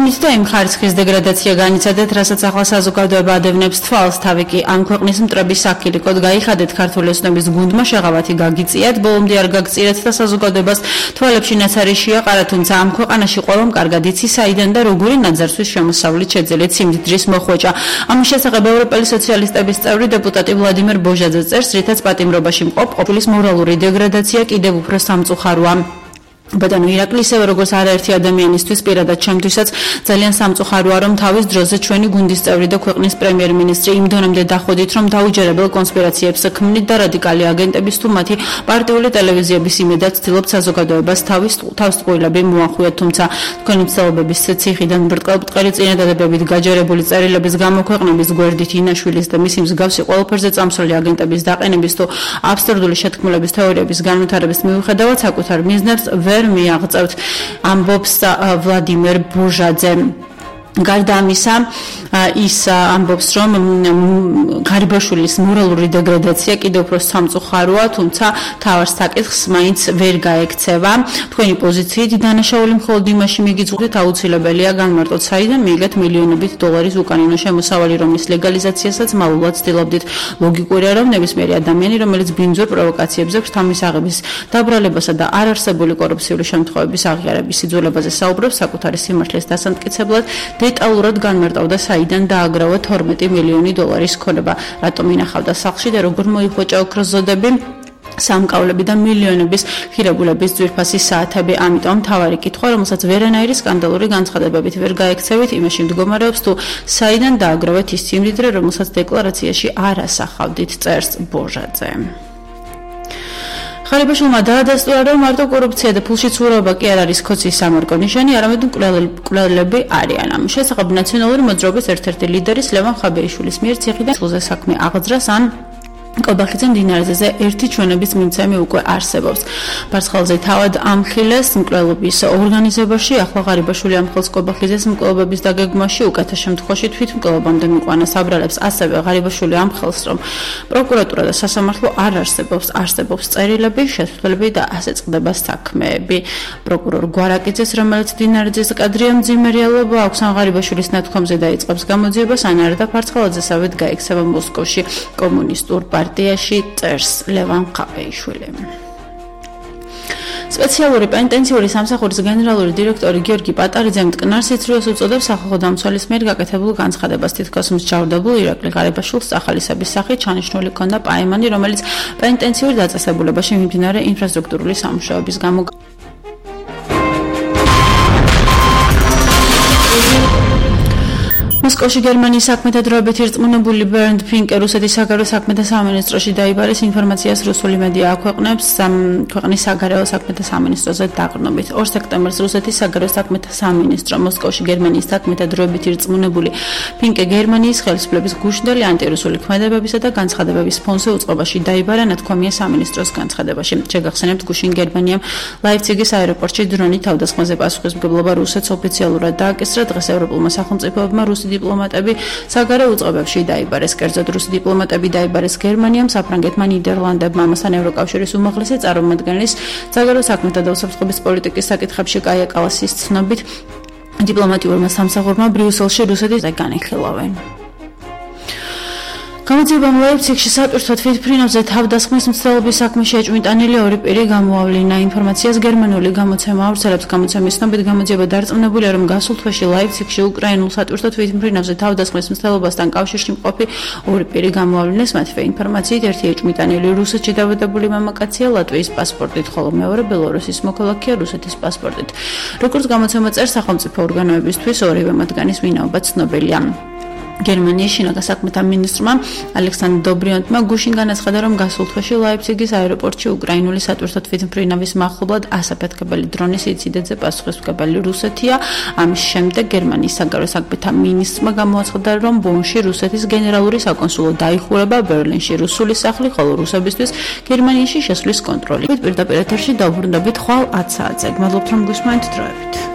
ქვეყნით და იმ ხარისხის დეგრადაცია განიცადეთ, რასაც ახლა საზოგადოება ადევნებს თვალს, თავი კი ამ ქვეყნის მტრების საქილიკოდ გაიხადეთ ქართული ოცნების გუნდმა შეღავათი გაგიწიათ, ბოლომდე არ გაგწირეთ და საზოგადოებას თვალებში ნაცარი შეაყარა, თუმცა ამ ქვეყანაში ყველამ კარგად იცის საიდან და როგორი ნაძარცვის შემოსავლით შეძელეთ სიმდიდრის მოხვეჭა. ამის შესახებ ევროპელი სოციალისტების წევრი დეპუტატი ვლადიმერ ბოჟაძე წერს, რითაც პატიმრობაში მყოფ ყოფილის მორალური დეგრადაცია კიდევ უფრო სამწუხაროა. ბატონო ირაკლი, ისევე როგორც არაერთი ადამიანისთვის, პირადად ჩემთვისაც ძალიან სამწუხაროა, რომ თავის დროზე ჩვენი გუნდის წევრი და ქვეყნის პრემიერ-მინისტრი იმ დონემდე დახვედით, რომ დაუჯერებელ კონსპირაციებს ქმნით და რადიკალი აგენტების თუ მათი პარტიული ტელევიზიების იმედად ცდილობთ საზოგადოებას თავს ტყუილები მოახუიათ, თუმცა თქვენი მცდელობების ციხიდან ბრტყელ-ბრტყელი წინადადებებით გაჯერებული წერილების გამოქვეყნების გვერდით ინაშვილის და მისი მსგავსი ყველაფერზე წამსვლელი აგენტების დაყენების თუ აბსურდული შეთქმულების თეორიების განვითარების მიუხედავად საკუთარ მიზნებს ვერ მიაღწევთ, ამბობს ვლადიმერ ბოჟაძე. გარდა ამისა, ის ამბობს, რომ გარიბაშვილის მორალური დეგრადაცია კიდევ უფრო სამწუხაროა, თუმცა თავის საკითხს მაინც ვერ გაექცევა. თქვენი პოზიციით დანაშაული მხოლოდ იმაში მიგიძღვრით, აუცილებელია განმარტოთ, საიდან მიიღეთ მილიონობით დოლარის უკანონო შემოსავალი, რომლის ლეგალიზაციასაც მალულად ცდილობდით. ლოგიკურია, რომ ნებისმიერი ადამიანი, რომელიც ბინძურ პროვოკაციებზე ღვთამის აღების დაბრალებასა და არარსებული კორუფციული შემთხვევების აღიარების სიძველებაზე საუბრობს, საკუთარი სიმართლის დასამტკიცებლად დეტალურად განმარტავდა, საიდან დააგროვა 12 მილიონი დოლარის ქონება, რატომ ინახავდა სახლში და როგორ მოიხვეჭა ოქროს ზოდები, სამკავლები და მილიონების ხირებულების ძვირფასი საათები. ამიტომ მთავარი კითხვა, რომელსაც ვერანაირი სკანდალური განცხადებებით ვერ გაექცევით, იმაში მდგომარეობს, თუ საიდან დააგროვეთ ის სიმდიდრე, რომელსაც დეკლარაციაში არ ასახავდით, წერს ბოჟაძე. ხარიბაშვილმა დაადასტურა, რომ მარტო კორუფცია და ფულში ცურაობა კი არ არის ქოცის სამარკო ნიშანი, არამედ მკვლელები არიან. ამ შესახებ ნაციონალური მოძრაობის ერთ-ერთი ლიდერის ლევან ხაბეიშვილის მიერ ციხიდან სულზე საქმე აღძრას ან კობახიძე მდინარეზე ერთი ჩვენების მიმცემი უკვე არსებობს. ფარცხალზე თავად ამხილეს მკვლელობის ორგანიზებაში, ახლა ღარიბაშვილი ამხელს კობახიძეს მკვლელობის დაგეგმვაში, უკეთა შემთხვევაში თვითმკვლელობამდე მიყვანა საბრალებს. ასევე ღარიბაშვილი ამხელს, რომ პროკურატურა და სასამართლო არ არსებობს წერილები, შესრულები და ასე წყდება საქმეები. პროკურორ გვარაკიძეს, რომელიც მდინარეზე კადრია მძიმერიალობა აქვს, ან ღარიბაშვილის ნათქვამზე დაიწყებს გამოძიებას, ან არა და ფარცხალაძესავით გაიქცევა მოსკოვში კომუნისტურ პარტიაში, წერს ლევან ხაბეიშვილი. სპეციალური პენიტენციური სამსახურის გენერალური დირექტორი გიორგი პატარიძე მტკნარ სიცრუეს უწოდებს სახალხო დამცველის მიერ გაკეთებულ განცხადებას, თითქოს მსჯავრდებულ ირაკლი ღარიბაშვილს სახალისების სახით ჩანიშნული ჰქონდა პაემანი, რომელიც პენიტენციურ დაწესებულებაში მიმდინარე ინფრასტრუქტურული სამუშაოების გამო მოსკოვში გერმანიის საქმეთა დროებით ირწმუნებული ბერნდ ფინკე რუსეთის საგარეო საქმეთა სამინისტროში დაიბარეს. ინფორმაციას რუსული მედია აქვეყნებს ქვეყნის საგარეო საქმეთა სამინისტროზე დაყრდნობით. 2 სექტემბერს რუსეთის საგარეო საქმეთა სამინისტრო მოსკოვში გერმანიის საქმეთა დროებით ირწმუნებული ფინკე გერმანიის ხელისუფლების გუშინდელი ანტირუსული ქმედებებისა და განცხადებების ფონზე უწყობაში დაიბარა, ნათქვამია სამინისტროს განცხადებაში. შეგახსენებთ, გუშინ გერმანიამ ლაიფციგის აეროპორტში დრონის თავდასხმაზე პასუხისმგებლობა რუსეთს ოფიციალურად დააკისრა. დღეს ევროპულმა სახელმწიფოებმა რუსი დიპლომატები საგარეო უწყებებში დაიბარეს. კერძოდ რუსი დიპლომატები დაიბარეს გერმანიამ, საფრანგეთმა, ნიდერლანდებმა, ამასთან ევროკავშირის უმაღლესი წარმომადგენლის საგარეო საქმეთა და უსაფრთხოების პოლიტიკის საკითხებში კაია კალასის ცნობით დიპლომატიურმა სამსახურმა ბრიუსელში რუსეთის განიხილავენ. გამოძიებამ ლაიფციგში სატვირთო თვითმფრინავზე თავდასხმის მცდელობის საქმეში ეჭვმიტანილი 2 პირი გამოავლინა. ინფორმაციას გერმანული გამოცემა ავრცელებს. გამოცემის ცნობით გამოძიება დარწმუნებულია, რომ გასულ თვეში ლაიფციგში უკრაინულ სატვირთო თვითმფრინავზე თავდასხმის მცდელობასთან კავშირში მყოფი 2 პირი გამოავლინეს. მათივე ინფორმაციით, ერთი ეჭვმიტანილი რუსეთში დავადებული მამაკაცია ლატვიის პასპორტით, ხოლო მეორე ბელორუსის მოქალაქეა რუსეთის პასპორტით. როგორც გამოცემა წერს, სახელმწიფო ორგანოებისთვის ორივე მათგანის ვინაობა ცნობილია. გერმანიის შინაგან საქმეთა მინისტრმა ალექსანდრ დობრიონტმა გუშინ განაცხადა, რომ გასულ თვეში ლაიფციგის აეროპორტში უკრაინული სატვირთო თვითმფრინავის მახლობლად ასაფეთქებელი დრონის ინციდენტზე პასუხისმგებელი რუსეთია. ამის შემდეგ გერმანიის საგარეო საქმეთა მინისტრმა გამოაცხადა, რომ ბონში რუსეთის გენერალური საკონსულო დაიხურება, ბერლინში რუსული სახლი, ხოლო რუსებისთვის გერმანიაში შესვლის კონტროლი. პირდაპირ ეთერში დავბრუნდებით ხვალ 10 საათზე. გმადლობთ, რომ გვისმენთ დროებით.